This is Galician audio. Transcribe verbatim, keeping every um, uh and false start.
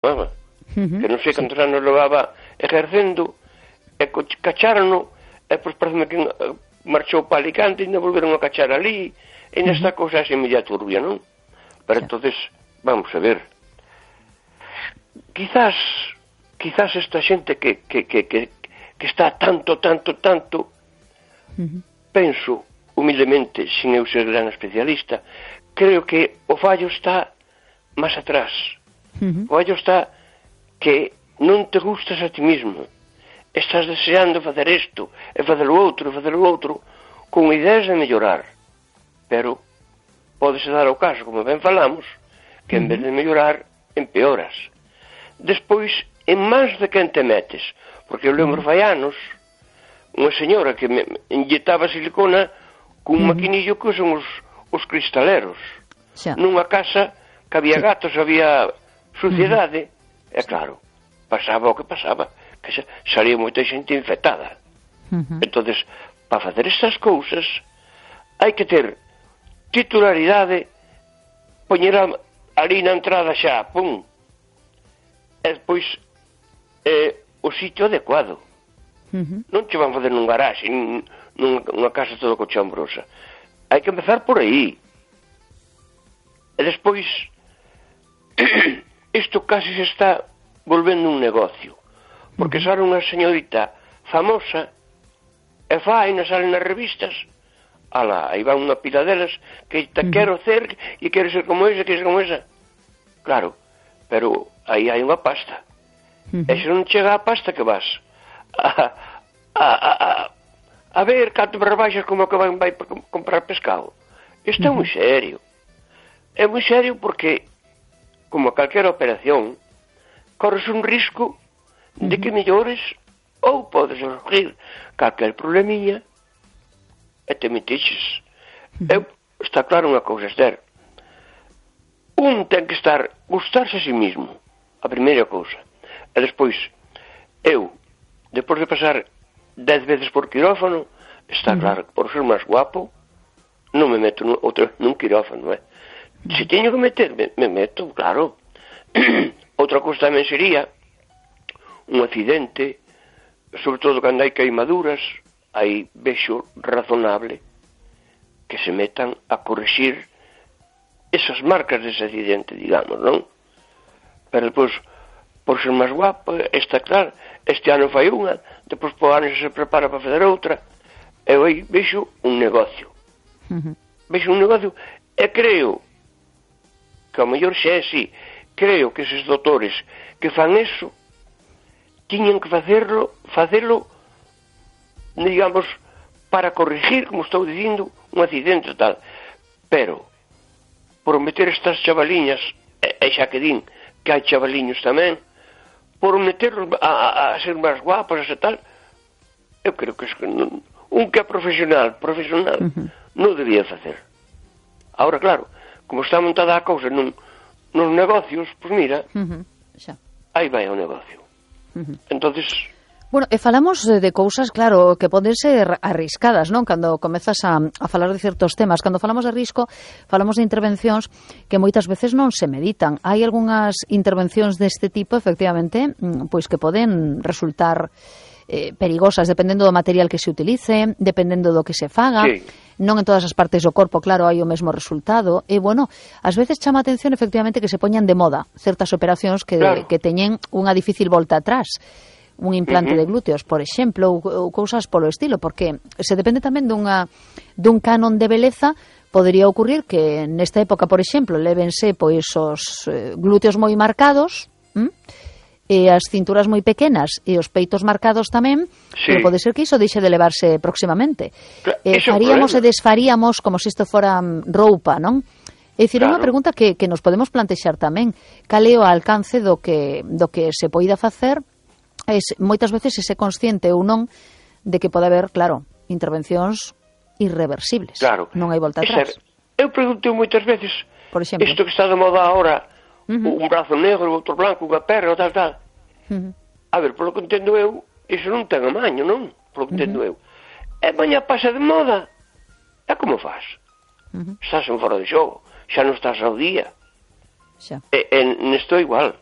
uh -huh. Que non sei cantos sí. anos levaba ejercendo, e cachárono, e pois parece que marchou para Alicante e ainda volveron a cachar ali, e nesta uh -huh. cousa así media turbia, non? Pero sí. entonces, vamos a ver, quizás quizás esta xente que, que, que, que, que está tanto, tanto, tanto uh -huh. penso humildemente, sin eu ser gran especialista, creo que o fallo está máis atrás. Uh -huh. O fallo está que non te gustas a ti mismo, estás deseando facer isto e facer o outro, e facer o outro con ideas de mellorar, pero pódese dar o caso, como ben falamos, que en vez de mellorar empeoras. Despois, en mans de quen te metes, porque eu lembro fai anos unha señora que me inyectaba silicona cun uh -huh. maquinillo que son os, os cristaleros xa. Nunha casa que había sí. gatos, había suciedade, uh -huh. e claro, pasaba o que pasaba, que salía moita xente infectada. Uh -huh. Entonces, para facer estas cousas hai que ter titularidade, poñer ali na entrada xa, pum, e despois eh, o sitio adecuado. Uh -huh. Non che van fazer nun garaxe, nunha casa toda cochambrosa. Hai que empezar por aí. E despois isto casi se está volvendo un negocio, porque sale unha señorita famosa e fai, non salen nas revistas, ala, aí va unha pila delas que te uh -huh. quero ser e quero ser como esa, quero ser como esa. Claro, pero aí hai unha pasta. Uh -huh. E se non chega a pasta, que vas a, a, a, a, a ver canto me rebaixas como que vai, vai comprar pescado. Isto uh -huh. é moi serio. É moi serio porque, como calquera operación, corres un risco de que mellores ou podes surgir calquer problemiña e te metixes. Uh -huh. Eu, está claro unha cousa, Esther. Un ten que estar, gustarse a si mismo, a primeira cousa. E despois, eu, depois de pasar dez veces por quirófano, está uh -huh. claro que por ser máis guapo, non me meto nun, outro, nun quirófano, eh? Se teño que meter, me, me meto, claro. Outra cousa tamén sería un accidente, sobre todo cando hai queimaduras, aí vexo razonable que se metan a corrixir esas marcas dese accidente, digamos, non? Pero depois, por ser máis guapo, está claro, este ano fai unha, depois por ano se prepara para fazer outra, e aí vexo un negocio. Uh -huh. Vexo un negocio, e creo que ao mellor xe é así, creo que eses doutores que fan eso tiñan que facerlo, facelo, digamos, para corrigir, como estou dicindo, un accidente tal. Pero, por meter estas chavaliñas, e, e xa que din que hai chavaliños tamén, por meterlos a, a, a ser máis guapos e tal, eu creo que es, non, un que é profesional, profesional, uh -huh. non debía facer. Ahora, claro, como está montada a cousa nun, nos negocios, pois pues mira, uh -huh. xa. Aí vai o negocio. Uh -huh. Entonces... Bueno, e falamos de cousas, claro, que poden ser arriscadas, non? Cando comezas a, a falar de certos temas. Cando falamos de risco, falamos de intervencións que moitas veces non se meditan. Hai algunhas intervencións deste tipo, efectivamente, pois que poden resultar eh, perigosas, dependendo do material que se utilice, dependendo do que se faga. Sí. Non en todas as partes do corpo, claro, hai o mesmo resultado. E, bueno, ás veces chama a atención, efectivamente, que se poñan de moda certas operacións que, claro. que teñen unha difícil volta atrás. Un implante uh -huh. de glúteos, por exemplo, ou, ou cousas polo estilo, porque se depende tamén dunha, dun canon de beleza. Podería ocurrir que nesta época, por exemplo, lévense pois os eh, glúteos moi marcados, ¿m? e as cinturas moi pequenas e os peitos marcados tamén, sí. pero pode ser que iso deixe de levarse próximamente. Eh, faríamos e desfaríamos como se isto fora roupa, non? É dicir, claro. unha pregunta que, que nos podemos plantexar tamén. Cal é o alcance do que, do que se poida facer? Es, moitas veces ese consciente ou non de que pode haber, claro, intervencións irreversibles. Claro. Non hai volta atrás. Eu pregunto moitas veces, por exemplo, isto que está de moda ahora, uh -huh. un brazo negro, outro blanco, unha perna, tal, tal. Uh -huh. A ver, polo que entendo eu, iso non ten amaño, non? Polo que entendo uh -huh. eu. E mañá pasa de moda. E como faz? Uh -huh. Estás en fora de xogo, xa non estás ao día. Xa. E, e nesto igual.